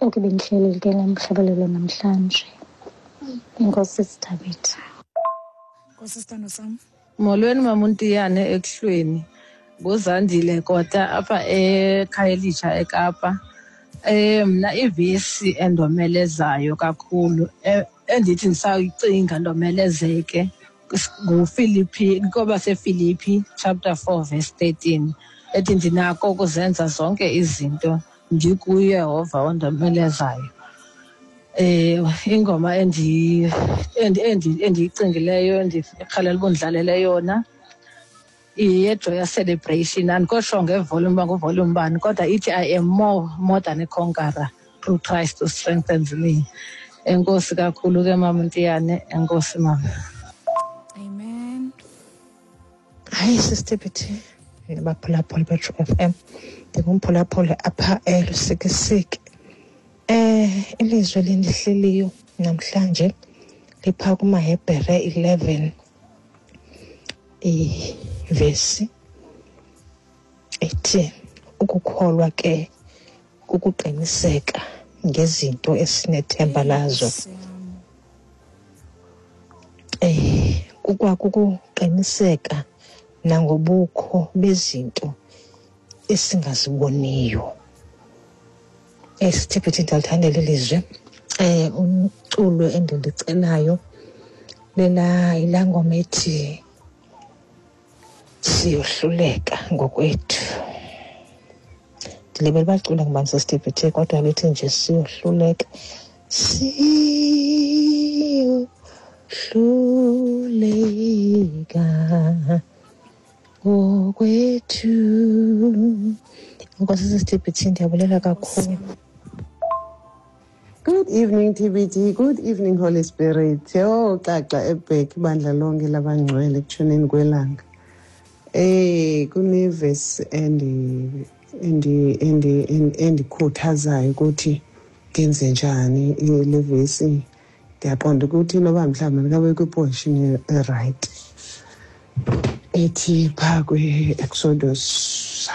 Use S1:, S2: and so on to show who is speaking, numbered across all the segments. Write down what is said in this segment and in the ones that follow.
S1: Oku bendihlelele ke lamhlabelelo namhlanje. Enkosi Sithabetha.
S2: Nkosi sithando sam.
S3: Molweni maMuntiyane ekuhlweni. NguZandile Kota apha eKhayelitsha eKapa. Mna ivesi endomelezayo kakhulu endithi ndisayicinga ndomelezeke nguFilipi, kwabaseFilipi chapter 4 verse 13 ethi ndinako ukuzenza zonke izinto ndikuYehova ondomelezayo. Ingoma endiyicingileyo endirhalela uba undidlalele yona yeJoyous Celebration. Andikho ngevolume uba nguvolume bani, kodwa ithi I am more than a conqueror through Christ who strengthens me. Enkosi kakhulu ke mama Ntiyane, enkosi mama.
S2: Amen.
S4: Hayi Sister BT, nabaphulaphuli beTrue FM. Ndingumphulaphuli apha eLusikisiki. Ilizwi elindihleliyo namhlanje lipha kumaHebhere 11 ivesi ethi ukukholwa ke kukuqiniseka ngezinto esinethemba lazo. Kukwakukuqiniseka nangobukho bezinto esingaziboniyo. Sithiphithi ndiyalithanda eli lizwi. Umculo endilicelayo lela yilaa ngoma ethi siyohluleka ngokwethu. Ndilibele uba licula ngubani sesithiphithi, kodwa lithi nje siyohluleka. Siyohluleka ngokwethu. Nkosi sisithiphithi, ndiyabulela kakhulu.
S5: Good evening TBT, good evening Holy Spirit. Yho, xaxa ebhek ibandla lonke labangcwele ekutshoneni kwelanga. Kunevesi endikhuthazayo ukuthi ngenze njani le vesi. Ndiyaqonda ukuthi noba mhlawumbi ndingabe kwiposition erayithi. Ethi phaa kwi-Exodus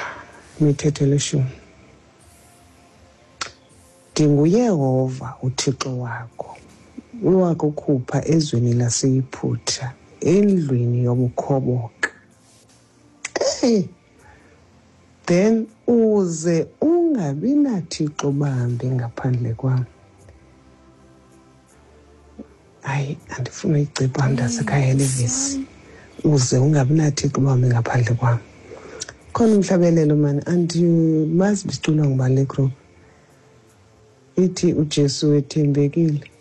S5: imithetho elishumi. NdinguYehova uThixo wakho, owakukhupha ezweni laseYiputa, endlwini yobukhoboka. Hey, then uze ungabi nathixo bambi ngaphandle kwam. Hayi, andifuni uyigcipha mntasekhaya le vesi. Uze ungabi nathixo bambi ngaphandle kwam. Khona umhlabelelo mani, andimazi biculwa ngubani le group. Ithi uJesu wethembekile.